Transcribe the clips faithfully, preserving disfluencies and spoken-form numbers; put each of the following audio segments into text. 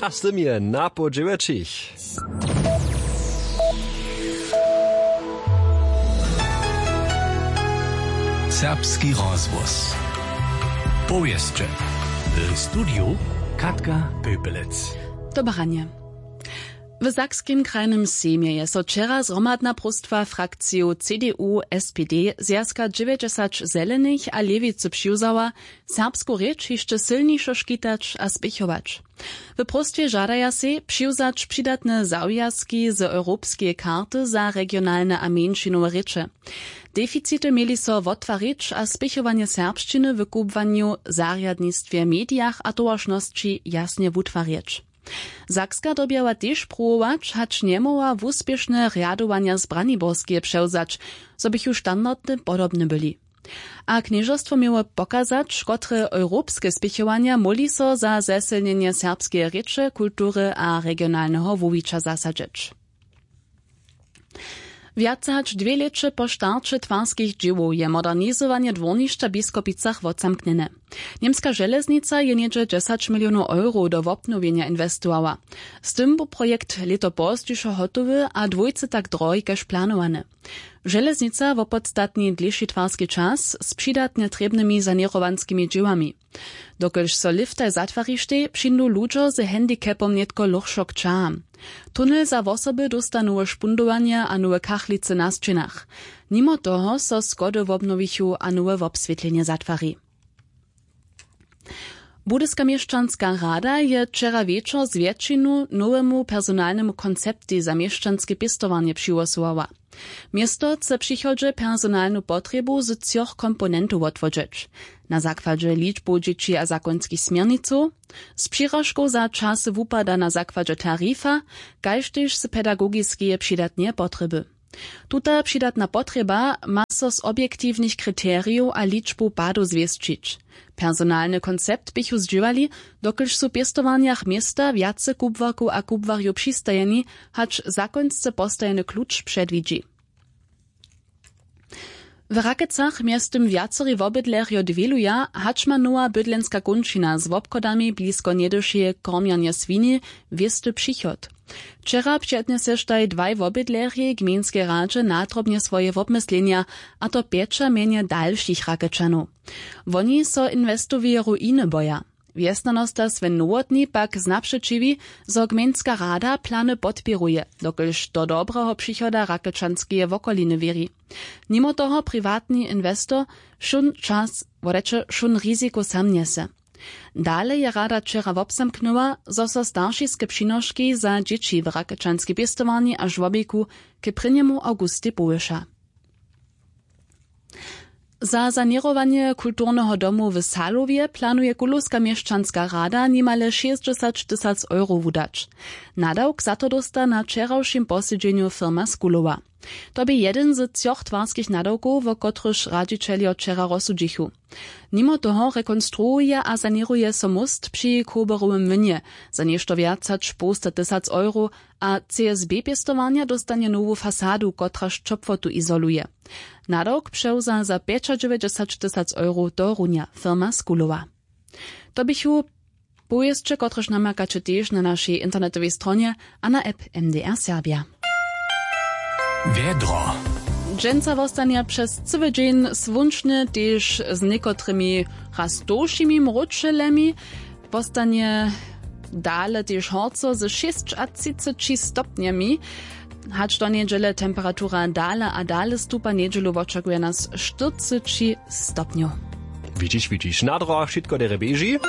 A z tym je na poł dźewjećich. Serbski rozhłos. Powěsće. W studiju Katka Pepelec. Dobre ranje. W Sakskim krajnym sejmje je so wčera zhromadna próstwa frakcijow C D U, S P D, Zwjazka dźewjećdźesat zelenych a Lěwicy přiwzała, serbsku rěč hišće sylnišo škitać a spěchować. W próstwje žadaja sej přiwzać přidatne zawjazki z europskeje karty za regionalne a mjeńšinowe rěče. Deficity měli so wottwarić a spěchowanje serbšćiny w kubłanju, zarjadnistwje, medijach a towaršnosći jasnje wutwarjeć. Sakska dyrbjała tež pruwować, hač njemóhła wuspěšne rjadowanja z Braniborskeje přewzać, zo běchu standardy podobne byli. A knježerstwo měło pokazać, kotre europske spěchowanja móhli so za zesylnjenje serbskeje rěče, kultury a regionalneho wuwića zasadźeć. Wjace hač dwě lěće po starće twarskich dźěłow je modernizowanje dwórnišća w Biskopicach wotzamknjene. Němska železnica je něhdźe dźesać milionow eurow do wobnowjenja inwestowała. Z tym bu projekt lěto pozdźišo hotowy a dwójce tak drohi kaž planowany. Železnica wopodstatni dlěši twarski čas z přidatnje trěbnymi saněrowanskimi dźěłami. Dokelž so liftaj zatwarištej, přińdu ludźo z handicapom nětko lóchšo k ćaham. Tunel za wosoby dósta nowe špundowanje a nowe kachlicy na sćěnach. Nimo toho so schody wobnowichu a nowe wobswětlenje zatwari. Budyska měšćanska rada je wčera wječor z wjetšinu nowemu personalnemu konceptej za měšćanske pěstowarnje přihłosowała. Město chce w přichodźe personalnu potrjebu z třoch komponentow wotwodźeć: na zakładźe ličbow dźěći a zakonskich směrnicow, z přiražkow za časy wupada na zakładźe tarifa, kaž tež z pedagogiskeje přidatneje potrjeby. Tuta přidatna potrjeba ma so z objektiwnych kriterijow a ličbow padow zwěsćić. Personalny koncept běchu zdźěłali, dokelž su w pěstowarnjach města wjace kubłarkow a kubłarjow přistajeni, hač zakonsce postajeny kluč předwidźi. W Rakecach mjeztym wjacerej wobydlerjo dwěluja, hač ma nowa bydlenska kónčina z wobchodami blisko njedyšeje kormjernje swini wěsty přichod. Wčera přednjeseštej dwaj wobydlerjej gmejnskej radźe nadrobnje swoje wobmyslenja, a to pjeća mjenje dalšich Rakečanow. Woni so inwestoweje ruiny boja. Wjesnjanosta Sven Nowotny pak znapřećiwi, zo gmejnska rada plany podpěruje, dokelž do dobreho přichoda Rakečanskeje wokoliny wěri. Nimo toho priwatny inwestor wšón čas, wodeće wšón riziko sam njese. Dale je rada wčera wobzamknyła, zo so staršiske přinoški za dźěći w Rakečanskej pěstowarni a žłobiku k prěnjemu awgustej powyša. Za saněrowanje kulturneho domu w Salowje planuje kulowska měšćanska rada nimale šěsćdźesat tysac euro wudać. Nadawk za to dósta na wčerawšim posedźenju firma z Kulowa. To bě jedyn z třoch twarskich nadawkow, wo kotrychž radźićeljo wčera rozsudźichu. Nimo toho rekonstruuje a saněruje so móst při Koberowym młynje za něšto wjac hač połsta tysac euro, a C S B pěstowarnja dóstanje nowu fasadu, kotraž ćopłotu izoluje. Nadawk přewza za pjećadźewjećdźesat tysac euro tohorunja firma z Kulowa. To běchu powěsće, kotrež namakaće tež na našej internetowej stronje a na app M D R Serbja. Wjedro. Dźensa wostanje přez cyły dźeń słónčny, tež z někotrymi raz tołšimi mróčelemi. Wostanje dale tež horco ze šěsćatřiceći stopnjemi. Hač do njedźele temperatura dale a dale stupa, njedźelu wočakuje nas štyrceći stopnjow. Widźiš, widźiš, na drogach wšitko derje běži.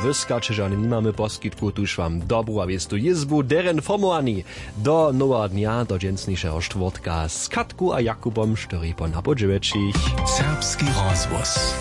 Wyskaće žane nimamy poskitku, tuž wam dobru a wěstu jězbu derje informowani. Do noweho dnja, do dźensnišeho štwórtka z Katku a Jakubom štyri po napoł dźewjećich. Serbski rozhłos.